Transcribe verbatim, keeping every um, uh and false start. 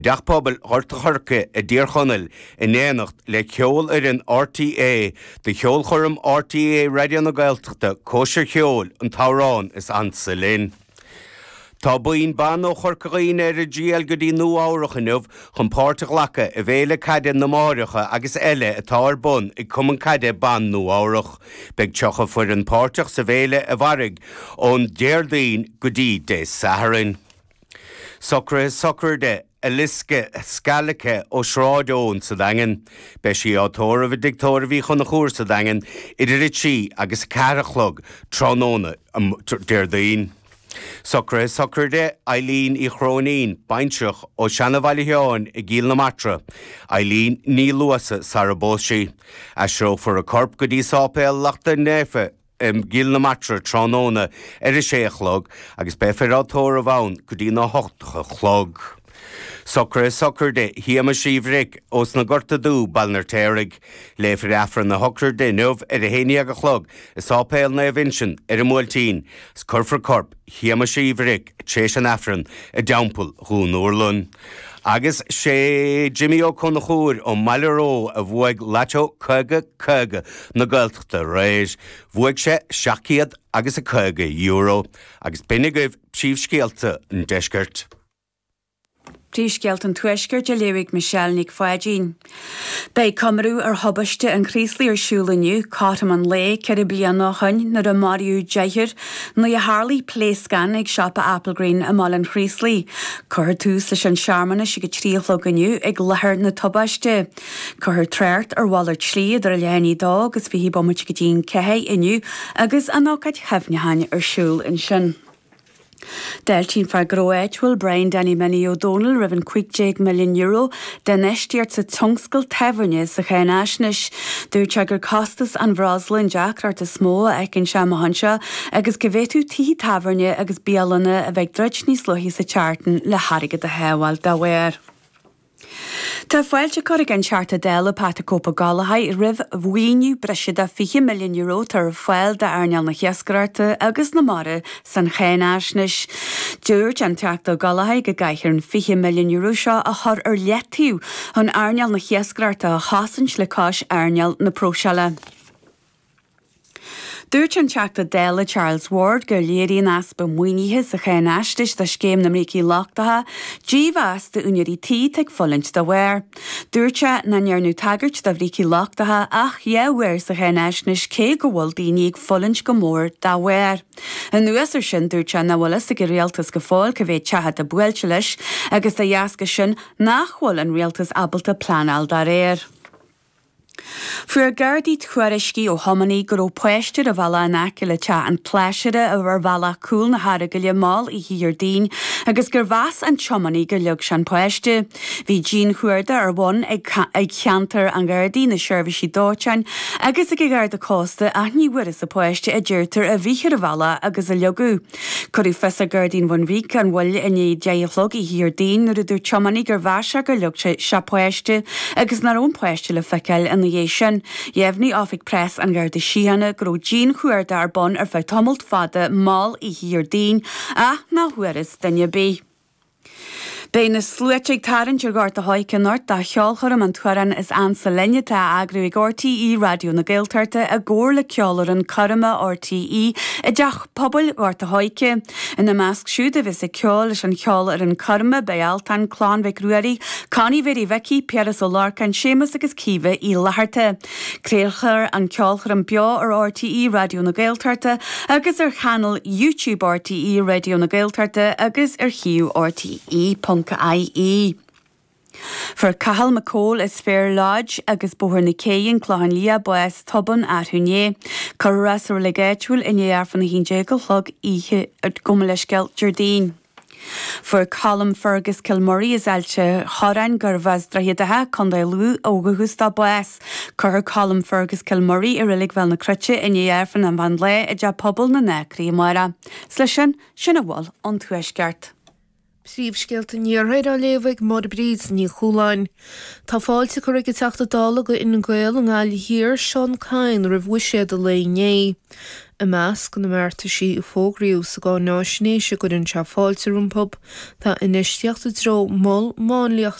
dTeach Pobail Ghort an Choirce i dTír Chonaill in éineacht le ceolfhoireann RTÉ do cheolchoirm RTÉ Raidió na Gaeltachta Cóisir Cheoil an t-amhrán is ansa linn. Tá buíon ban ó Chorca Dhuibhne ar a dtriall go dtí Nua Eabhrac inniu chun páirt a ghlacadh i bhFéile Caide na Máithreacha agus eile atá ar bun ag Cumann Caide Ban Nua Eabhrac. Beidh tríocha foireann páirteach sa bhféile a mhairfidh ón Déardaoin go dtí Dé Sathairn. Socruithe sochraide Eliska Scalica ó Sráid Eoin sa Daingean. Beidh sí á tórramh i dTigh Tórraimh Uí Chonchúir sa Daingean idir a trí agus a ceathair a chlog tráthnóna Déardaoin. Socruithe sochraide Eileen Uí Chróinín, baintreach ó Seanabhaile Sheáin i gCill na Martra, Eileen Ní Luasa sara bpós sí. Aistreofar a corp go dtí Sáipéal Lachtaín Naofa i gCill na Martra tráthnóna ar a sé a chlog agus beifear á tórramh ann go dtí na hocht a chlog. Socruithe sochraide Shéamais Uí Bhric ós na Gorta Dubh, Baile an Fheirtéaraigh. Léifear Aifreann a shochraide inniu ar a haon déag a chlog i Sáipéal Naomh Uinseann ar an mBuailtín 's cuirfear corp Shéamais Uí Bhric tar éis an Aifrinn i dTeampall Dhún Urlann. Agus sé Jimmy Ó Conchúir ón mBaile Ró a bhuaigh Lató caoga caoga na Gaeltachta aréir. Bhuaigh sé seacht gcéad agus a caoga euro. Agus b'in agaibh príomhscéalta an deiscirt. Príomhscéalta an Tuaiscirt á léamh ag Michelle Nic Pháidín. Beidh comóradh ar thubaiste an Chraoslaigh ar siúl inniu, cothrom an lae ceithre bliana ó shin nuair a maraíodh deichniúr nuair a tharlaigh pléascán ag siopa Applegreen i mBaile an Chraoslaigh. Cuirfear tús leis an searmanas ag a trí a chlog inniu ag láthair na tubaiste. Cuirfear trácht ar mhalairt slí idir a leath i ndiaidh a dó agus fiche bomaite go dtí an ceathair inniu agus an ócáid chuimhneacháin ar siúl ansin. D'fháiltigh an fear gnó áitiúil Brian Danny Minnie Ó Dónaill roimh an cúig déag milliún euro d'infheistíocht sa tionscal tábhairne sa cháinaisnéis. Dúirt sé gur costas an bhreosla an deacracht is mó a fheiceann sé amach anseo agus go bhféadfadh tithe tábhairne agus bialanna a bheith ag druid níos luaithe sa tseachtain le hairgead a shábháil dá bharr. Tá fáilte curtha ag an Teachta Dála Pat the Cope Ó Gallchóir roimh mhaoiniú breise de fiche milliún euro atá ar fáil d'earnáil na hiascaireachta agus na mara san cháinaisnéis. Dúirt an Teachta Ó Gallchóir go gcaithfear an fiche milliún euro seo a chur ar leataobh chun earnáil na hiascaireachta a chosaint le cois earnáil na próiseála. Dúirt an Teachta Dála Charles Ward gur léiríonn easpa maoinithe sa cháinaisnéis do scéim na mbrící lochtacha dímheas d'úinéirí tí atá ag fulaingt dá bharr. Dúirt sé nach ndearnadh tagairt do bhrící lochtacha ach dhá uair sa cháinaisnéis cé go bhfuil daoine ag fulaingt go mór dá bharr. Anuas air sin dúirt sé nach bhfuil fhios ag an rialtas go fóill cá mhéad teach atá buailte leis agus dá dheasca sin nach bhfuil an rialtas ábalta pleanáil dá réir. Fuair Gardaí tuairiscí ó thiománaí go raibh páiste ar an bhealach in aice le teach an tSláisire ar bhealach cúl na hEaragaile mall oíche Dhéardaoin agus gur mheas an tiománaí gur leag sé an páiste. Bhí dianchuardach ar bun ag ag ceantar an Ghardaí na seirbhísí dóiteáin agus ag an Gharda Cósta ach ní bhfuarthas an páiste a deirtear a bhí ar an bhealach agus a leagadh. Cuireadh fios ar Ghardaí an Bhun Bhig an bhuille i ndiaidh deich a chlog oíche Dhéardaoin nuair a dúirt tiománaí gur mheas sé gur leag sé sé páiste agus nach raibh an páiste le feiceáil ina dhiaidh sin. Dheimhnigh Oifig Preas an Gharda Síochána go raibh dianchuardach ar bun ar feadh tamalt fada mall oíche Dhéardaoin ach nach bhfuarthas duine ar bith. Beidh na sluaite ag tarraingt ar Ghort a' Choirce anocht do cheolchoirm an t-amhrán is ansa linn atá á eagrú ag RTÉ Raidió na Gaeltachta i gcomhar le ceolfhoireann coirme RTÉ i dTeach Pobail Ghort a' Choirce. Ina measc siúd a bheas ag ceol leis an cheolfhoireann coirme beidh Altan, Clann Mhic Ruairí, Connie Mhéirí Mhicí, Piaras Ó Lorcáin, Séamus agus Caoimhe Uí Fhlatharta. Craolfar an ceolchoirm beo ar RTÉ Raidió na Gaeltachta agus ar chainéal YouTube RTÉ Raidió na Gaeltachta agus ar shuíomh RTÉ ponc IE. Fuair Cathal McCole as Fair Lodge agus Bóthar na Cé an Clochán Liath bás tobann arú inné. Cuirfear é sa reilig áitiúil i ndiaidh Aifreann a haon déag a chlog oíche gabh mo leithscéal Déardaoin. Fuair Colm Fergus Kilmurray as Ailt an Chorráin gurbh as Droichead Átha, Contae Lú ó dhúchas dó bás. Cuirfear Colm Fergus Kilmurray i reilig Bhéal na Cruite i ndiaidh Aifreann an mheán lae i dTeach Pobail na nAcraí amárach. 'S leis sin, sin a bhfuil ón Tuaisceart. Príomhscéalta an Iarthair á léamh ag Máire Bríd Ní Chualáin. Tá fáilte curtha ag an Teachta Dála do Fhine Gael i nGaillimh Thiar, Seán Kyne, roimh bhuiséad an lae inné. I measc na mbeartaisí a fógraíodh sa gcáináisnéis a gcuireann sé fáilte rompu, tá infheistíocht i dtreo mol máinliachta